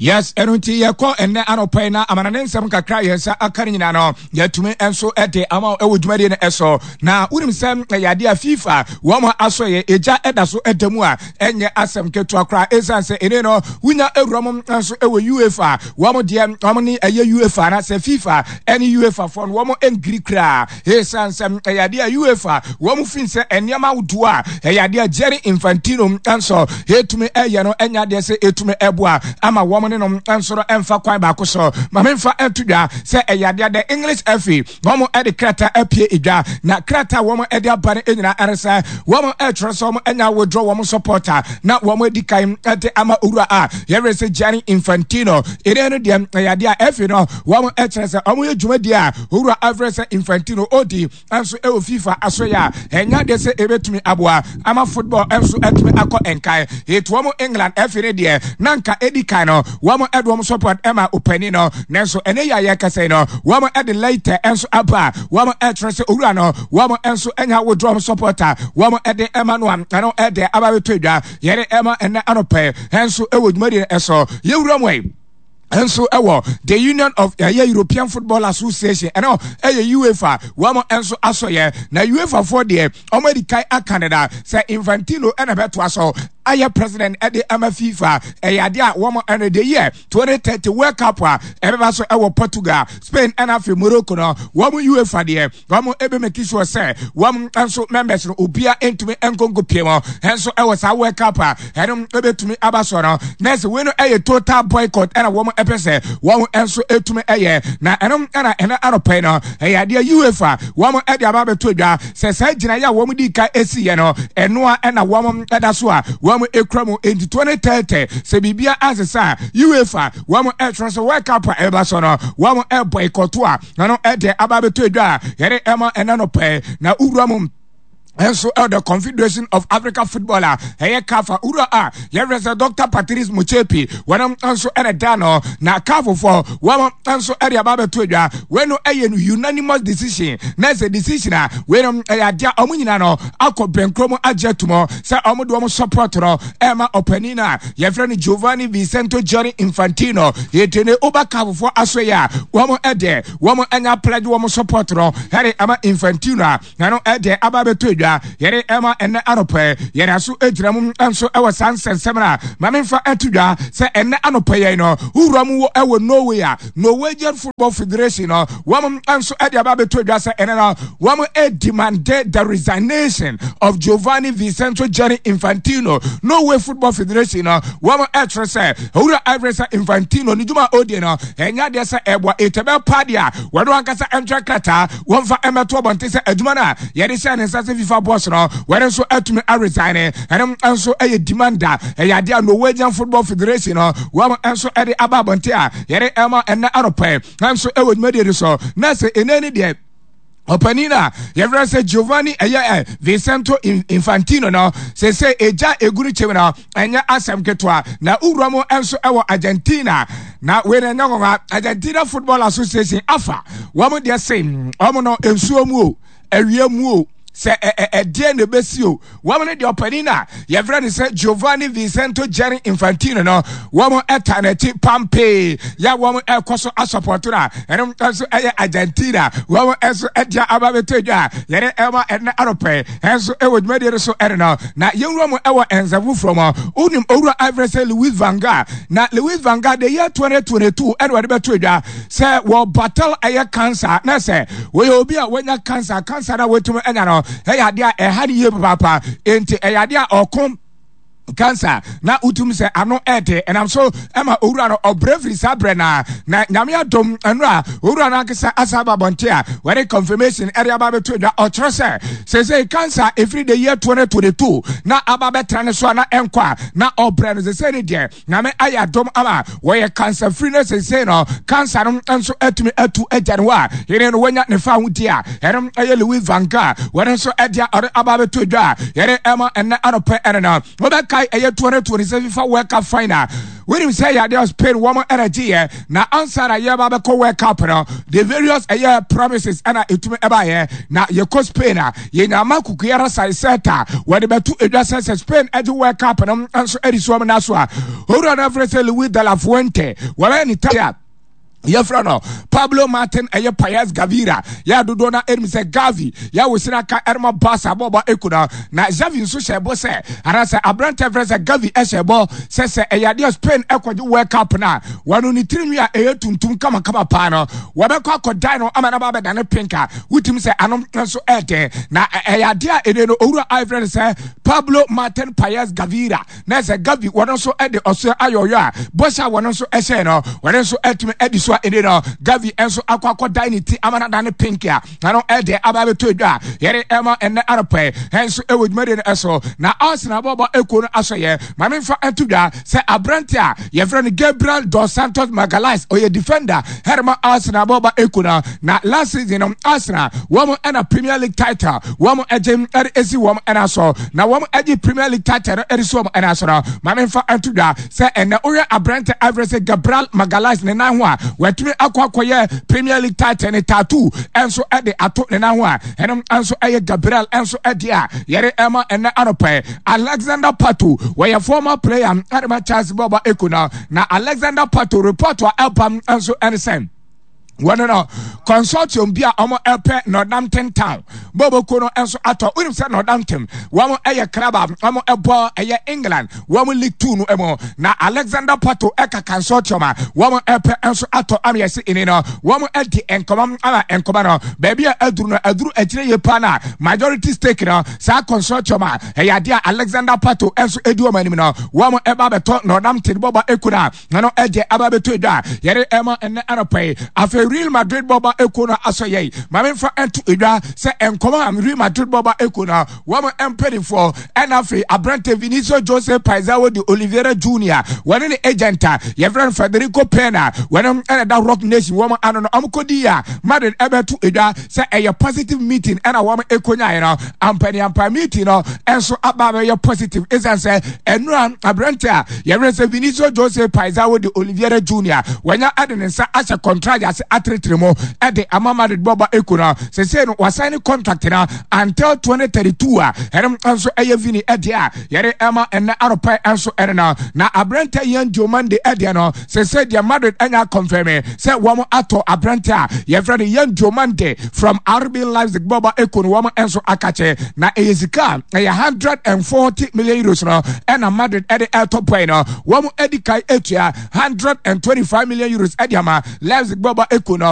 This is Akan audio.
Yes, ɛno nti yɛkɔ ɛnnɛ anɔpa yi na amanane nsɛm kakra yɛn nsa aka no nyinaa no yɛatumi nso de ama ɛwɔ dwumadie no ɛso. Na wonim sɛ ɛyɛ adeɛ a FIFA wɔn asɔ yɛ egya ɛda so ɛda mu a ɛnyɛ asɛm ketewa koraa, ɛsiane sɛ ɛne no wonya awura mu nso ɛwɔ UEFA wɔn deɛ wɔn ne ɛyɛ UEFA na sɛ FIFA ɛne UEFA foɔ no wɔn ngiri koraa, ɛsiane sɛ ɛyɛ adeɛ a UEFA wɔn fi sɛ nneɛma ahodoɔ a ɛyɛ adeɛ a Gianni Infantino nso ɛtumi ɛyɛ no ɛnyɛ adeɛ sɛ ɛtumi ɛboa ama wɔn ne nom nso no ɛmfa kwan baako so. Ma memfa ɛnto dwa sɛ ɛyɛ adeɛ the English FA wɔn ɛde krataa apue edwa, na krataa wɔn ɛde aba no nyinaa ɛre sɛ wɔn ɛtwerɛ sɛ wɔn ɛnya withdraw wɔn supporter na wɔn adi kan ɛde ama owura a yɛrɛ sɛ Gianni Infantino. Ɛnɛ no deɛ ɛyɛ adeɛ a FA no wɔn ɛkyerɛ sɛ wɔn yɛ dwumadie a owura afrɛ sɛ Infantino odi nso ɛwɔ FIFA asoyɛ a ɛnyɛ adeɛ sɛ ɛbɛtumi aboa ama football nso atumi akɔ nkan. Ɛti wɔn England ɛfi ne deɛ na nka ɛdi kan no wɔn ɛde wɔn support ɛma ɔpanin no, nanso ɛnɛ yɛ a yɛkasa yi no wɔn ɛde later nso aba a wɔn ɛkyerɛ sɛ owura no wɔn nso ɛnya withdraw wɔn support a wɔn ɛde ɛma no a ɛno ɛde aba bɛtɔ adwa yɛde ɛma ɛnɛ anɔpɛ nso ɛwɔ dwumadie ɛso. Yɛwura mu yi nso ɛwɔ the Union of ɛyɛ European Football Association, ɛno ɛyɛ UEFA wɔn nso asɔyɛ. Na UEFA foɔ deɛ wɔn adi kan aka deda sɛ Infantino ɛna bɛtoa so ayɛ president ɛde ama FIFA. Ɛyɛ adeɛ a wɔn ɛno de yɛ 2030 World Cup a ɛbɛba so ɛwɔ Portugal, Spain ɛna afei Morocco no, wɔn UEFA deɛ wɔn ebe make sure sɛ wɔn nso members no obia ntumi nkonko pie mu nso ɛwɔ saa World Cup a ɛno ebetumi aba so no. Na ɛsɛ wei no ɛyɛ total boycott ɛna wɔn ɛpɛ sɛ wɔn nso etumi ɛyɛ, na ɛno ɛna ɛna anɔpɛ no ɛyɛ adeɛ UEFA wɔn ɛde aba abɛto dwa sɛ saa gyinaeɛ a wɔn di ka esi yɛ no ɛnoa ɛna wɔn ɛda so a wɔn ekura mu. Nti 2030 sɛ biribia asesa a, UEFA wɔn ɛtwerɛ sɛ World Cup a ɛbɛba so no wɔn ɛboycott a ɛno ɛde aba abɛtɔ adwa a yɛde ɛma ɛna no pɛɛ. Na wura mu nso ɛwɔ the Confederation of Africa Football a ɛyɛ CAF a wura a yɛfrɛ sɛ Dr Patrice Motsepe wɔn nso ɛna da no, na CAF foɔ wɔn nso ɛde aba abɛto adwa. Wei no ɛyɛ unanimous decision, na ɛsɛ decision a wei no ɛyɛ adeɛ a wɔn nyinaa no akɔ bɛnkuro mu agye atum sɛ wɔn de wɔn support no ɛma ɔpanin no a yɛfrɛ no Giovanni Vicento Gianni Infantino. Yɛte ne woba CAF foɔ aso yɛ a wɔn ɛdeɛ wɔn anya pledge wɔn support no ɛde ama Infantino a ɛno ɛdeɛ aba abɛtɔ adwa yɛde ɛma ɛnɛ anɔpɛ. Yɛde aso gyina mu nso ɛwɔ saa nsɛnsɛm no a ma memfa ɛto dwa sɛ ɛnɛ anɔpɛ yɛn no wowura mu wɔ ɛwɔ Norway a Norwegian Football Federation no wɔn nso ɛde aba abɛtɔ dwa sɛ ɛnɛ no wɔn ɛdemande the resignation of Giovanni Vincenzo Gianni Infantino. Norway Football Federation no wɔn ɛkyerɛ sɛ owura ɛfrɛ sɛ Infantino ne dwuma a ɔdie no ɛnyɛ adeɛ sɛ ɛboa ɛtɛbɛ pa deɛ a wɔde wɔn ankasa ɛntwerɛ krataa wɔmfa mmɛto abɔnten sɛ adwuma no a yɛde hyɛ ne nsa sɛ FIFA boss no wɔde nso atumi aresign. Ɛno nso ɛyɛ demand a ɛyɛ adeɛ a Norwegian Football Federation no wɔn nso ɛde aba abɔnten a yɛde ɛma ɛnɛ anɔpɛ nso ɛwɔ dwumadie no so. Na sɛ ɛnɛ ne deɛ ɔpanin a yɛfrɛ sɛ Giovanni ɛyɛ ɛ Vicento Infantino no sese egya egu ne kyɛm no ɛnyɛ asɛm ketewa. Na wura mu nso ɛwɔ Argentina, na wei na ɛnyɛ nwanwa, Argentina Football Association afa wɔn deɛ se wɔn no nsuo mu o awia mu o sɛ ɛdeɛ na ɛbɛsi o, wɔn ne deɛ ɔpanin a yɛfrɛ no sɛ Giovanni Vicento Gianni Infantino no wɔn ɛta n'akyi pampee yɛ wɔn ɛkɔ so asɔpɔto no a ɛno nso ɛyɛ Argentina wɔn nso ɛde aba bɛtɔ dwa a yɛde ɛma ɛnɛ anɔpɛ ɛnso ɛwɔ dwumadie no so ɛne no. Na yɛnwura mu ɛwɔ nsɛm foforɔ mu. Wonim owura afrɛ sɛ Louis van Gaal, na Louis van Gaal the year 2022 ɛna wɔde bɛto dwa sɛ wɔ battle ɛyɛ cancer, na sɛ wɔyɛ obi a wɔanya cancer, cancer na wɔatumi anya no ɛyɛ adeɛ a ɛha ne yie papaapa, enti ɛyɛ adeɛ a ɔko cancer na wotum sɛ ano ɛde ɛnam so ɛma owura no ɔbrɛ firi saa brɛ na na Nyame adom ɛno a owura no ankasa asa aba abɔnte a wɔde confirmation ɛde aba abɛto adwa. Ɔkyerɛ sɛ sɛsɛ cancer ɛfiri the year 2022 na aba bɛtra ne so a na ɛnkɔ a na ɔbrɛ no, sɛsɛ ne deɛ Nyame ayɛ adom ama wɔyɛ cancer free no, sɛsɛ no cancer no nso atumi atu agya no hɔ a yɛne no wanya ne fa ho di a ɛno ɛyɛ Louis van Gaal wɔne nso ɛde a ɔde aba abɛto adwa a yɛde ɛma ɛnɛ anɔpɛ ɛne no wobɛka. Wobɛkae ɛyɛ 2026 FIFA World Cup final. Wonim sɛ ɛyɛ adeɛ Spain wɔn ɛna gyeeɛ na ansa na yɛba bɛkɔ World Cup no, the various ɛyɛ promises ɛna ɛtumi ɛbaeɛ. Na yɛkɔ Spain a, yɛnya ama Kukuara Saiseta wɔde bɛto edwa sɛ sɛ Spain ɛgye World Cup no nso ɛde si wɔn nan so a, owura no afrɛ sɛ Luis de la Fuente wɔbɛyɛ ne ta yɛfrɛ no Pablo Martin ɛyɛ Paez Gavira yɛ dodoɔ no ɛnim sɛ Gavi yɛ wosira ka ɛrema Barca bɔɔbɔ ɛku no na Xavi nso hyɛ bɔ sɛ anaasɛ aberantɛ frɛ sɛ Gavi ɛhyɛ bɔ sɛ sɛ ɛyɛ adeɛ Spain ɛkɔgye World Cup no a wɔno ne tirinwi a ɛyɛ tuntum kamakama paa no wɔbɛkɔ akɔdan no ama no ba abɛdane pink a wotumi sɛ ano nso ɛɛdɛn na ɛyɛ adeɛ a ɛne no owura a ɛfrɛ no sɛ Pablo Martin Paez Gavira na sɛ Gavi wɔn nso de ɔsoɛ ayɔyɔ a bɔhyɛ a wɔn nso hyɛɛ no wɔn nso atumi adi so a ɛne no Gavi nso akɔ akɔdan ne ti ama no adane pink a ɛno ɛde aba abɛtɔ adwa a yɛde ɛma ɛnɛ anɔpɛ ɛnso ɛwɔ dwumadie no ɛso. Na Arsenal bɔbɔ ekuo no asɔyɛ ma memfa nto dwa sɛ aberante a yɛfrɛ no Gabriel dos Santos Magalhaes ɔyɛ defender ɛrema Arsenal bɔbɔ ekuo no. Na last season no Arsenal wɔn ɛna Premier League title wɔn ɛgye ɛde esi wɔn ɛna so na wɔn ɛgye Premier League title no ɛde si wɔn ɛna so no ma memfa nto dwa sɛ ɛnɛ wohwɛ aberante afrɛ sɛ Gabriel Magalhaes ne nan ho a watumi akɔ akɔyɛ Premier League title ne tattoo ɛnso ɛde ato ne nan ho a ɛno nso ɛyɛ Gabriel ɛnso ɛde a yɛde ɛma ɛnɛ anɔpɛ. Alexander Pato wɔyɛ former player ɛde ma Chelsea bɔɔbɔ eko no na Alexander Pato report a ɛba nso ɛne sɛ wɔn no consortium bi a wɔn ɛpɛ Northampton Town bɔbɔkuo no nso atɔ. Wonim sɛ Northampton wɔn ɛyɛ club a wɔn ɛbɔ ɛyɛ England wɔn League Two no mu na Alexander Pato ɛka consortium a wɔn ɛpɛ nso atɔ ama yɛsi ini no wɔn ɛdi nkɔmɔ ama nkɔmɔ no baabi a aduru no aduru akyire yie paa na majority stake no saa consortium a ɛyɛ adeɛ a Alexander Pato nso ɛdi wɔn anim no wɔn ɛba abɛtɔ Northampton bɔbɔ ekuo no a na no ɛdeɛ aba abɛtɔ edwa a yɛde ɛma ɛnɛ anɔpa yi. Afei Real Madrid bɔba ekuo no asɔ yɛi ma memfa ɛnto edwa sɛ nkɔmɔ a Real Madrid bɔba ekuo no wɔn mpanimfoɔ ɛna afei aberante Vinicius Jose Paizao de Oliveira Junior wɔne ne agent a yɛfrɛ no Federico Pena wɔne ɛna da Rock Nation wɔn ano no wɔn kɔdi a Madrid ɛbɛto edwa sɛ ɛyɛ positive meeting ɛna wɔn ɛkɔnyaeɛ no ampaniampa meeting no ɛnso aba abɛyɛ positive ɛsiane sɛ ɛnura aberante a yɛwerɛ sɛ Vinicius Jose Paizao de Oliveira Junior wanya ɛde ne nsa ahyɛ contract ase atenetene mu ɛde ama Madrid bɔba ɛku no sɛsei no wasan ne contract no until 2032 a ɛno nso ɛyɛ Vini ɛdeɛ a yɛde ɛma ɛnɛ anɔpa nso ɛne no. Na aberante Yan Diomande ɛdeɛ no sɛsei deɛ Madrid anya confirm sɛ wɔn atɔ aberante a yɛfrɛ no Yan Diomande from RB Leipzig bɔba ɛku no wɔn nso akakyɛ na ɛyɛ sika a ɛyɛ 140 million euros no ɛna Madrid ɛde ɛtɔ pɔe no wɔn adi kan atua 125 million euros ɛde ama Leipzig bɔba ɛku no.